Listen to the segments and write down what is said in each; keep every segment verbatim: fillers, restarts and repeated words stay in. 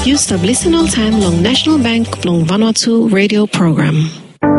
Yu stap lisen oltaem long National Bank blong Vanuatu radio program.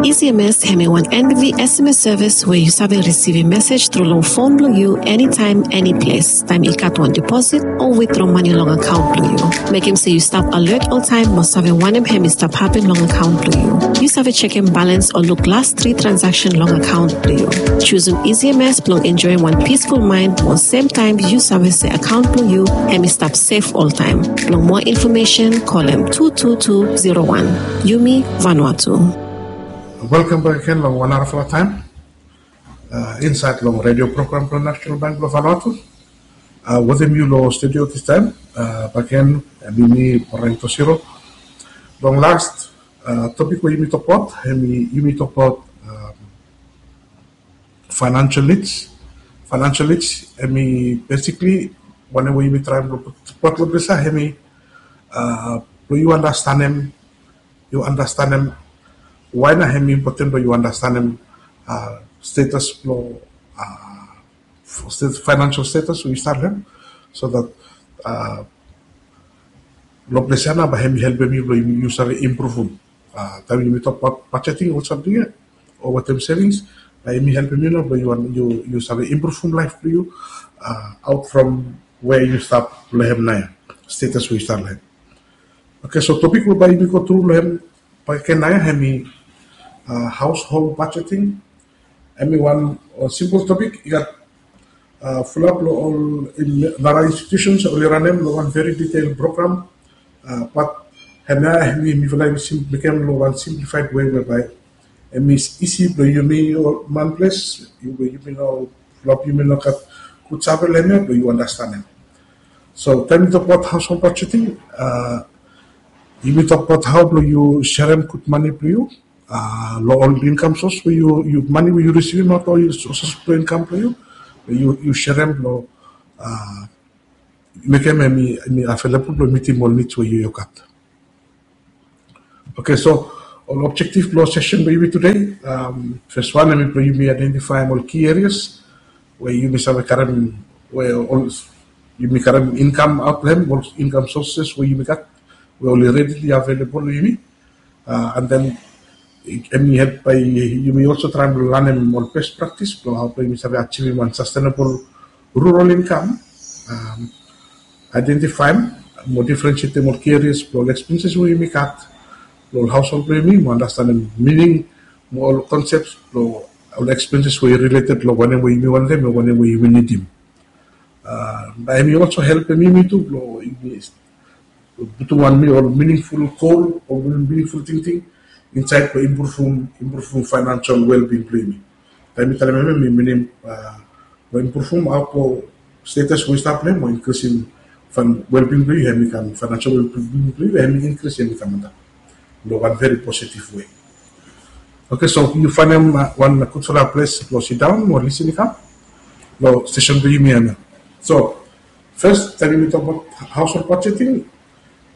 E C M S hemi wan N B V S M S service we yu save risivim mesej tru long fon blong yu, enitaem, eniples, taem i gat wan deposit o withdraw mane long akaon blong yu. Mekem se yu stap alert oltaem mo save wanem hemi stap hapen long akaon blong yu. Yu save jekem balans o luk las tri transaction long akaon blong yu. Jusum E C M S blong enjoem wan peaceful mind mo semtaem yu save se akaon blong yu hemi stap sef oltaem. Blong moa infomesen, kolem tu tu tu zero wan. Yumi Vanuatu. Welkam bak gen long wan narafala taem insaed long redio program blong National Bank blong Vanuatu. Wetem yu long studio distaem bak gen, hemi mi, Brian Tosiro. Long las topik we yumi tokbaot, hemi yumi tokbaot financial needs. Financial needs hemi basically wanem we yumi traem blong put long ples ia, hemi blong yu andastanem, yu andastanem wae nao hemi impoten blong yu andastanem status blong financial status we yu stap long hem, so that long ples ia nao bae hemi helpem yu blong yu save impruvum. Taem yumi tokbaot budgeting o samting ia o wetem savings, bae hemi helpem yu nao blong yu save impruvum laef blong yu out from we yu stap long hem naoia, status we yu stap long hem. Oke, so topik we bae yumi go tru long hem bak gen naoia hemi household budgeting. Hemi wan simpol topik, i gat fulap long ol nara institutions oli ranem long wan very detail program. Bat hemia hemi mifala yumi mekem long wan simplified way webae hemi isi blong yumi ol manples we yumi no, fulap yumi no gat gud save long hemia blong yu andastanem. So taem yu tokbaot household budgeting, yumi tokbaot hao blong yu serem gud mane blong yu long ol income source we yu, mane we yu risivim aot long ol sources blong income blong yu, yu serem blong mekem hemi available blong mitim ol needs we yu gat. Oke, so ol objective blong session blong yumi today, fes wan hemi blong yumi identifaem ol key areas we yumi save karem, we ol yumi karem income aot long hem, ol income sources we yumi gat we oli readily available long yumi. And then hemi help bae yumi also traem blong lanem ol best practice blong hao blong yumi save ajivim wan sustainable rural income. Identifaem mo differentiatem ol key areas blong ol expenses we yumi gat long ol household blong yumi, mo andastanem mining mo ol concepts blong ol expenses we i related long wanem we yumi wantem o wanem we yumi nidim. Bae hemi also helpem yumi tu blong yumi putum wan ol meaningful goal o meaningful tingting insaed blong impruvum, impruvum financial wellbeing blong yumi. Taem mi talem hemia, mi minim blong impruvum aot long status we yu stap long hem, o inkrisim wellbeing blong yu, hemi kam financial wellbeing blong yu, hemi inkris, hemi kam antap long wan very positive way. Oke, so yu faenem wan gudfala ples blong sidaon mo lisin i kam long session blong yumi hemia. So fes, taem yumi tokbaot household budgeting,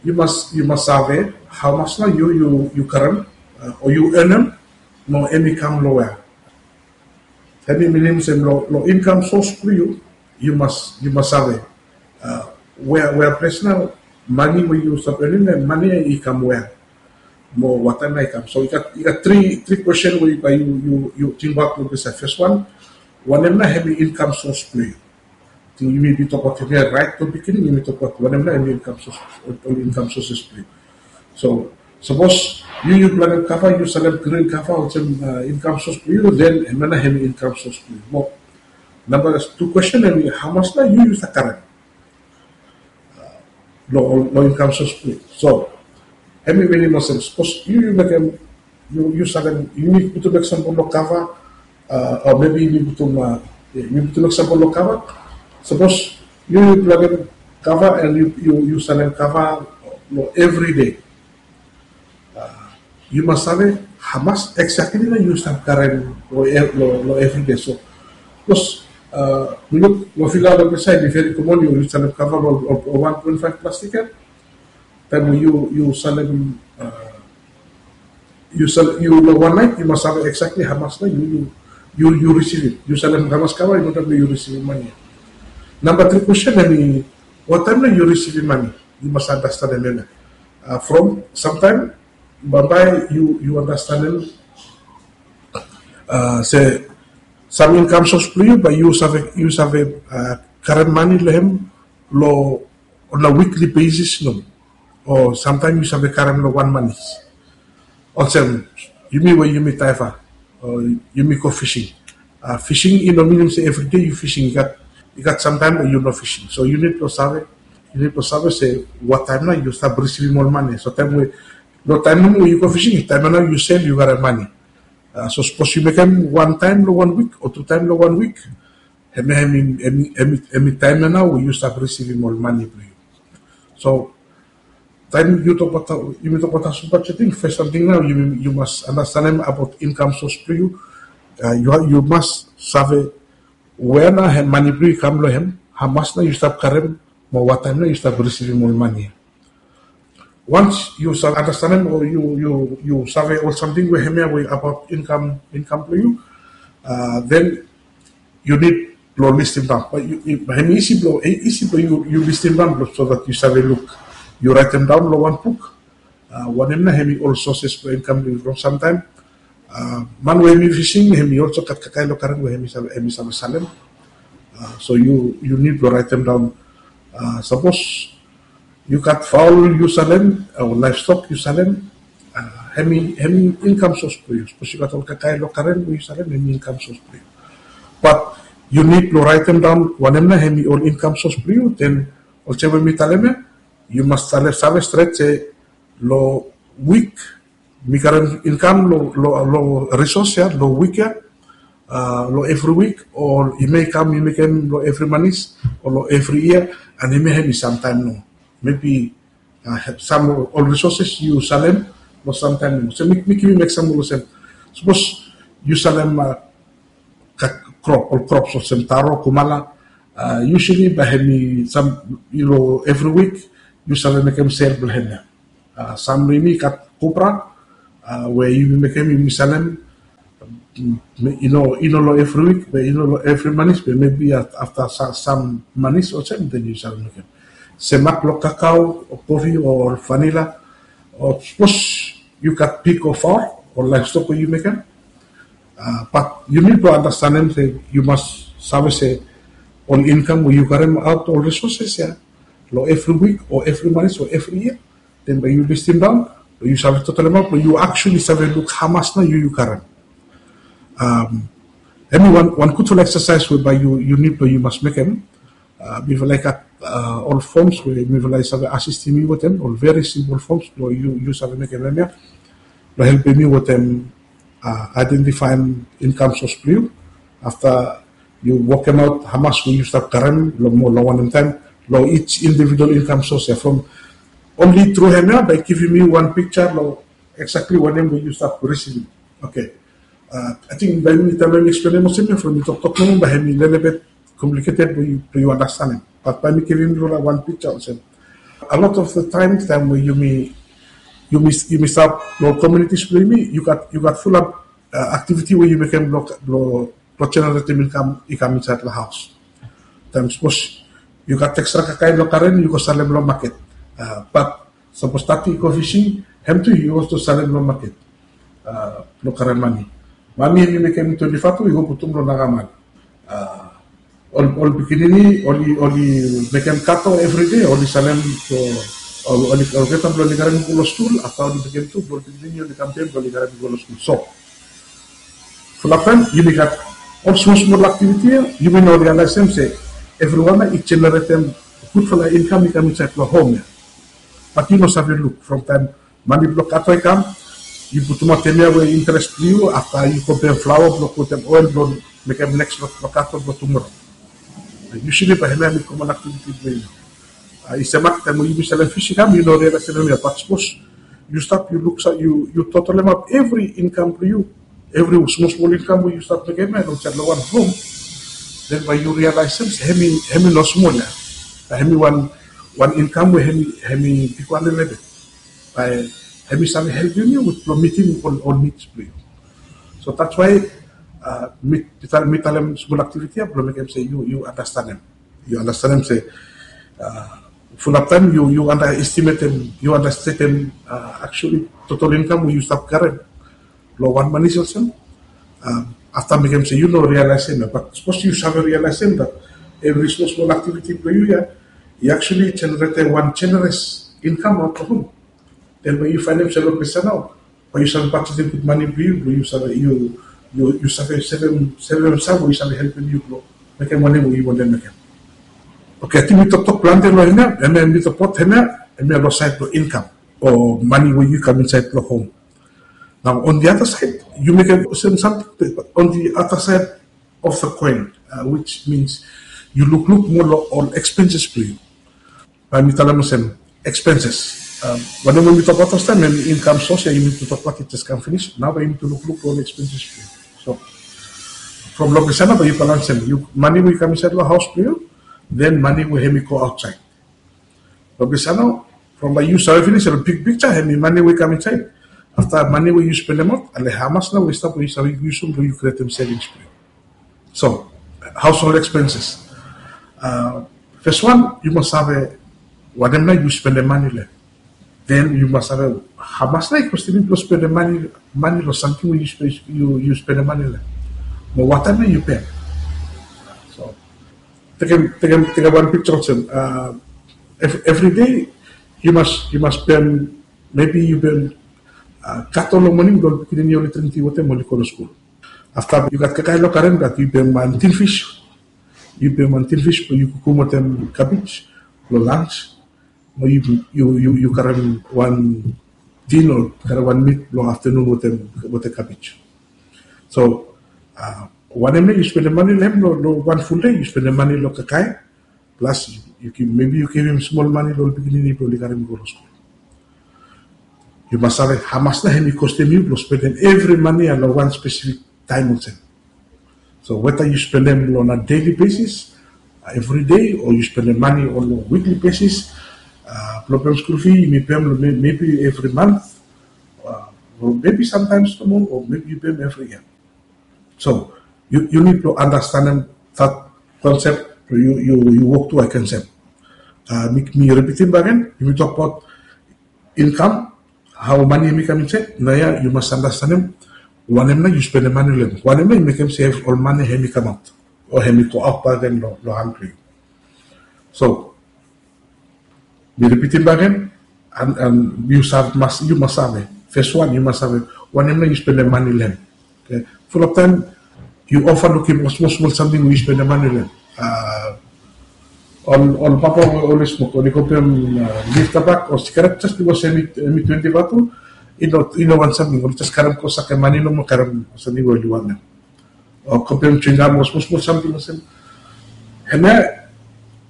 yu mas, yu mas save hamas nao yu, yu karem o yu enem, mo hemi kam long wea. Hemi minim se long income source blong yu, yu mas, yu mas save wea, wea ples nao mane we yu stap enem ia, mane ia i kam wea mo wataem nao i kam. So i gat, i gat tri, tri question we bae yu, yu tingbaot long disaed. Fes wan, wanem nao hemi income source blong yu? Ting yumi bin tokbaot hemia raet long beginning, yumi tokbaot wanem nao hemi income source, ol income sources blong yu. So sapos yu, yu planem kava, yu salem grin kava olsem income source blong yu, then hemia nao hemi income source blong yu. Mo namba tu question hemi hamas nao yu, yu stap karem long, long income source blong yu. So hemi minim olsem, sapos yu, yu mekem, yu, yu salem, yumi putum eksampol long kava, o maybe yumi putum, yumi putum eksampol long kava. Sapos yu, yu planem kava and yu, yu salem kava long everyday, yu mas save hamas exactly nao yu stap karem long everyday. So sapos mi luk long Vila long Besai, hemi very common yu salem kava long ol one point five plastic ia. Taem we yu, yu salem, yu salem, yu long wan naet yu mas save exactly hamas nao yu, yu risivim. Yu salem hamas kava, yu mas save yu risivim mane ia. Namba tri question hemi, wataem nao yu risivim mane? Yu mas andastanem hemia. From samtaem bambae yu yu andastanem se sam inkam sos blong yu, bae yu save yu save karem mane long hem long on a weekly basis nomo, o samtaem yu save karem long wan manis. Olsem yumi we yumi taifa, o yumi go fising. Fising i no minim se evri dei yu fising. I gat samtaem we yu no fising, so yu nid blong save yu nid blong save se wattaem nao yu stap risivim ol mane. So taem we long taem nomo we yu go fising, taem nao yu sel yu karem mane. So sapos yu mekem wan taem long wan wik o tu taem long wan wik, hemia hemi taem ya nao we yu stap risivim ol mane blong yu. So taem yu tokbaot yumi tokbaot household budgeting, fes samting nao yu mas andastanem abaot inkam sos blong yu. Yu mas save wea nao hem mane blong yu i kam long hem, hamas nao yu stap karem, mo wattaem nao yu stap risivim ol mane ya. Once yu save andastanem o yu save ol samting we hemia we abaot inkam inkam blong yu, then yu nid blong listim daon. Hem isi blong isi blong yu listim daon blong so dat yu save luk, yu raetem daon long wan buk. Wanem nao hemi ol soses blong inkam blong yu from samtaem. Man we hemi fising hemi olso gat kakae long karen we hemi save salem. So yu nid blong raetem daon. Sapos yu gat faol yu salem o laevstok yu salem, hemi inkam sos blong yu. Sapos yu gat ol kakae long karen we yu salem, hemi inkam sos blong yu. Bat yu nid blong raetem daon wanem nao hemi ol inkam sos blong yu, den olsem we mi talem ya, yu mas save stret se long wik mi karem inkam long risos ya long wik ya, long evri wik, o i mei kam i mekem long evri manis o long evri yia. An hemia hemi samtaem nomo, mebi sam ol risoses yu salem long samtaem nomo. So mi givim eksampol olsem, sapos yu salem krop ol krops olsem taro, kumala, usually bae hemi sam long evri wik yu save mekem sel blong hemia. Sam blong yumi gat kupra we yumi mekem yumi salem, i no long evri wik be i no long evri manis be mebi afta sam manis olsem den yu save mekem. Semak long kakao o kofi o vanila, o sapos yu gat pig o faol o laevstok we yu mekem. Bat yu nid blong andastanem se yu mas save se ol inkam we yu karemaot ol risoses ya long evri wik o evri manis o evri yia, den bae yu listim daon blong yu save totalemaot blong yu aksuali save luk hamas nao yu yu karem. Hemi wan gudfala eksasaes we bae yu nid blong yu mas mekem. Mifala i gat ol foms we mifala i save asistim yu wetem, ol veri simpol foms blong yu save mekem hemia blong helpem yu wetem aedentifaem inkam sos blong yu. Afta yu wokemaot hamas we yu stap karem long wanem taem long each individual inkam sos ya from only tru hemia bae i givim yu wan piksa long eksakli wanem we yu stap risivim. Oke. Ating bae mi taem bae mi eksplenem olsem ya from mi toktok nomo bae hemi lelebet kompliketed blong yu andastanem. Bat bae mi givim yu wan piksa olsem, a lot of the time taem we yumi yumi stap long komunitis blong yumi, yu gat fulap aktiviti we yu mekem blong jeneretem inkam i kam insaed long haos. Taem sapos yu gat ekstra kakae long karen yu go salem long maket. Bat sapos tati i go fising, hem tu yu olso salem long maket blong karem mane. Mami hemi mekem twenti fatu i go putum long nagaman. Ol pikinini oli mekem kato evri dei, oli salem, oli olgetam blong oli karem i go long skul. Afta oli mekem tu blong ol pikinini oli kam gen blong oli karem i go long skul. So fulap taem yumi gat ol smol smol aktiviti ya, yumi no rialaesem se evriwan ya i jeneretem gudfala inkam i kam insaed long hom ya. Bat yu no save luk from taem mane blong kato i kam, yu putumaot hemia we interes blong yu, afta yu go bem flaoa blong putum oel blong mekem neks blong kato blong tumora. Yusuli bae hemia hemi komon aktiviti blong yu. I semak taem we yumi salem fis i kam yu no rialaesem hemia, bat sapos yu stap yu luk yu totalemaot evri inkam blong yu, evri smol smol inkam we yu stap mekem ya long wan hom, den bae yu rialaesem se hemi no smol ya. Bae hemi wan inkam we hemi bigwan lelebet. Bae hemi save helpem yu wit blong mitim ol nids blong yu. So that's why mi talem smol aktiviti ya blong mekem se yu andastanem, yu andastanem se Fulap taem yu, yu underestimatem, yu understatem, uh, actually total income we yu stap karem long wan manis olsem. Um, afta mekem se yu no realize him, but sapos yu save realize him that every small small activity blong yu ya, i actually generate wan generous income out of him. Then when yu faenem se long ples ya nao, bae yu save bajetem gud mane blong yu, blong yu save, yu, yu, yu save sevem, sevem sam we yu save helpem yu blong mekem wanem we yu wantem mekem. Okay, ating mi toktok plante long hemia, hemia mi toktok hemia, hemia long saed blong income o mane we yu kam insaed long hom. Nao on the other side, yu mekem olsem samting, on the other side of the coin, uh, which means yu lukluk moa long ol expenses blong yu. Bae mi talem olsem, expenses. Um, wanem we mi tokbaot fastaem, hemi income source ya yumi tu tokbaot i jes kam finis. Nao bae yumi tu lukluk long ol expenses blong yu. So from long ples ya nao bae yu balance hem. Yu, mane we i kam insaed long haos blong yu, then mane we hemi go aotsaed. Long ples ya nao, from bae yu save finis long big picture, hemi mane we i kam insaed. Afta mane we yu spendemaot, ale hamas nao we i stap we yu save yusum blong yu krietem savings blong yu. So, household expenses. Uh, fes wan, yu mas save wanem nao yu spendem mane long hem. Then yu mas save hamas nao i kostem yu blong spendem mane, mane long samting we yu spe-, yu, yu spendem mane long hem. Mo wanem nao yu pem. So, tekem, tekem, tekem wan picture olsem. Uh, ev-, every day yu mas, yu mas pem, maybe yu pem, uh, kato long moning blong ol pikinini oli dring ti wota mo oli go long skul. Afta yu gat kakae long garen, bat yu pem wan tin fish. Yu pem wan tin fish blong yu kukum wetem cabbage blong lunch. Mo yu, yu, yu, yu karem wan tin o karem wan meat blong aftenun wetem, wetem cabbage. So, uh, wanem nao yu spendem mane long hem long, long wan ful dei, yu spendem mane long kakae. Plus, yu, yu give, maybe yu givim smol mane long ol pikinini blong oli karem i go long skul. Yu mas save hamas nao hemi kostem yu blong spendem evri mane ya long wan spesifik taem olsem. So weta yu spendem long a daily basis, uh, every day, o yu spendem mane on a weekly basis, uh, blong pem skul fee, yumi pem long may-, maybe evri month, uh, o maybe sometimes nomo, o maybe yu pem evri yia. So, yu, yu nid blong andastanem that concept, yu, yu, yu wok tu against hem. Uh, mi, mi ripitim bakegen, yumi tokbaot income, hao mane hemi kam insaed, naoia yu mas andastanem wanem nao yu spendem mane long hem. Wanem nao yu mekem se ol mane hemi kamaot, o hemi go aot bakegen long, long han blong yu. So, mi ripitim bakegen, and, and yu save, mas, yu mas save. Fes wan, yu mas save wanem nao yu spendem mane long hem. Okay. Fulap taem yu overlookim ol smol smol samting we yu spendem mane long hem. Uh, ol, ol papa we oli smok, oli go pem, uh, lif tabak o sigaret jes bikos hemi, hemi twenti vatu, i no, i no wan samting, oli jes karem go sakem mane nomo, karem samting we oli wantem. O go pem chewing gum o smol smol samting olsem. Hemia,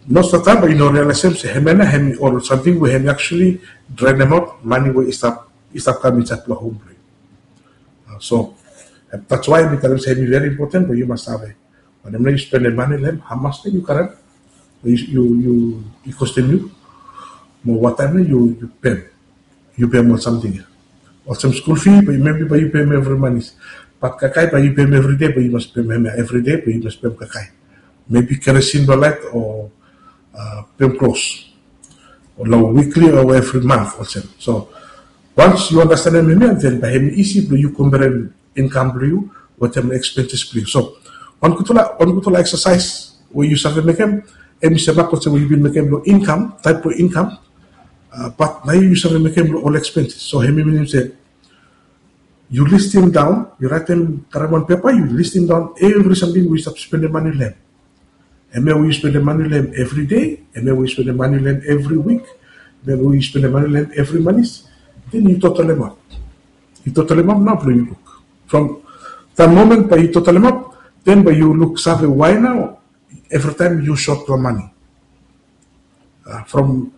most of the time yu no realize se hemia nao hemi ol samting we hemi actually drainemaot mane we i stap, i stap kam insaed long hom blong yu. Uh, so, uh, that's why mi talem se hemi very important blong yu mas save wanem nao yu spendem mane long hem, hamas nao yu karem, yu, yu, yu, i kostem yu, mo wanem nao yu, yu pem. Yu pem ol samting ya. Olsem skul fee, bae maybe bae yu pem evri manis. Bat kakae bae yu pem evri dei, bae yu mas pem hemia evri dei, bae yu mas pem kakae. Maybe keresin blong laet o, uh, pem klos. O long weekly o evri month olsem. So, once yu andastanem hemia, then bae hemi isi blong yu komberem income blong yu wetem expenses blong yu. So, wan gudfala, wan gudfala exercise we yu save mekem, hemi se mak olsem we yu bin mekem long income, taep blong income, uh, bat naoia yu save mekem long ol expenses. So, hemi minim se yu listim daon, yu raetem, karem wan pepa, yu listim daon evri samting we yu stap spendem mane long hem. Hemia we yu spendem mane long hem evri dei, hemia we yu spendem mane long hem evri wik, hemia we yu spendem mane long hem evri manis. Then yu totalemaot. Yu totalemaot nao blong yu luk. From the moment bae yu totalemaot, then bae yu luksave why nao evri taem yu sot long mane. Uh, from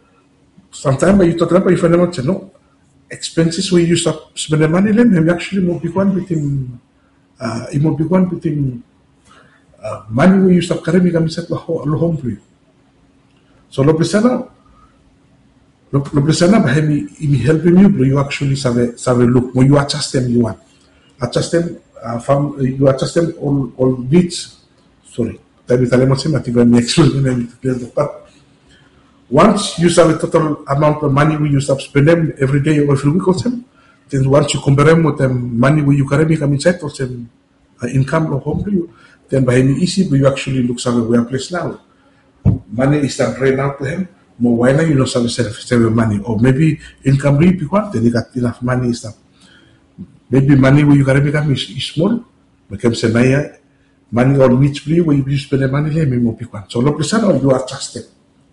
samtaem bae yu totalemaot, bae yu faenemaot se no, expenses we yu stap spendem mane long hem, hemi actually moa bigwan bitim, uh, i moa bigwan bitim, uh, mane we yu stap karem i kam insaed long ho-, long hom blong yu. So long ples ya nao, long, long ples ya nao bae hemi, hemi helpem yu blong yu actually save, save luk mo yu adjastem, yu wan adjastem, uh, fam-, yu adjastem ol, ol needs. Sorry, taem mi talem olsem, ating bae mi eksplenem, mi talem, bat Once yu save total amount of money we yu stap spendem every day or every week olsem, then once yu komperem wetem money we yu karem i kam inside olsem uh, income lo home blong yu, then by him easy but you actually look save where place now. Money is start drain out to him. Mo why now you no save save save money or maybe income ri big one, then you got enough money is start. Maybe money where you karem i kam is small. Mekem se na ya money or needs blong yu we yu spend money lo him i mo big one. So lo place now you are trusted.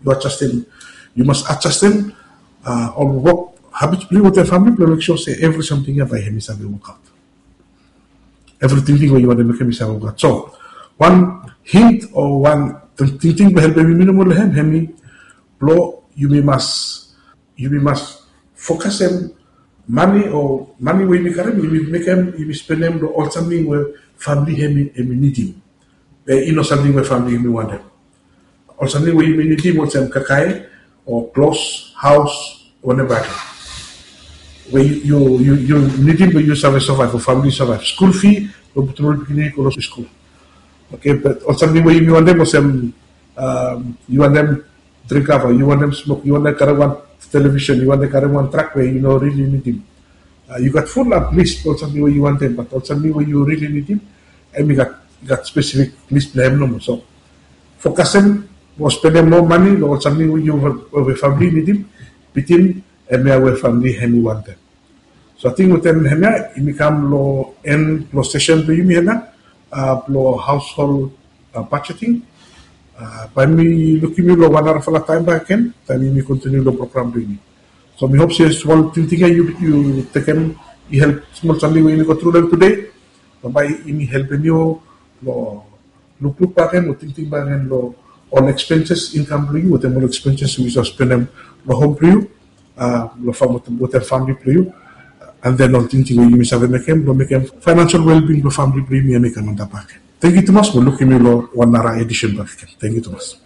You are trusted. You must adjust them. Uh, or work habits blong yu with your family blong make sure se every something ya by him is save work out. Every tingting we yu want to make him is save work out. So one hint or one tingting blong helpem yumi nomo lo him hemi blong yumi mas yumi mas focus him money or money we yumi karem yumi make him yumi spend him lo ol something we family hemi hemi nidim. Be i no something we family yumi want him. Ol something we yumi nidim olsem kakae o klos, haos, whatever. We yu yu yu nidim we yu save survive o family survive. School fee lo putum ol pikinini go lo school. Okay, but ol something we yumi want him olsem um, yu want him drink kava, yu want him smoke, yu want him karem wan television, yu want him karem wan truck we yu no really nidim. Uh, you got full up list ol something we yu want him, but ol something we yu really nidim, hemi gat gat specific list blong him nomo. So focus him mo spend him more money lo ol something we yu we family nidim, bitim hemia we family hemi want him. So ating wetem hemia yumi kam lo en lo session blong yumi hemia uh, lo household uh, budgeting. Uh, by mi lukim yu lo wan narafala taem bakegen taem yumi continue lo program blong yumi. So mi hope se smol tingting ya yu yu tekem i help smol something we yumi go tru lo hem today. Bambae yumi helpem yu lo lukluk bakegen o tingting bakegen lo ol expenses income blong yu wetem ol expenses we yu save spendem lo home blong yu, uh, lo fam wetem family blong yu, and then ol tingting we yumi save mekem lo mekem financial well-being lo family blong yumi ya mekem antap bakegen. Thank you tumas mo lukim yu lo wan nara edition bakegen. Thank you tumas.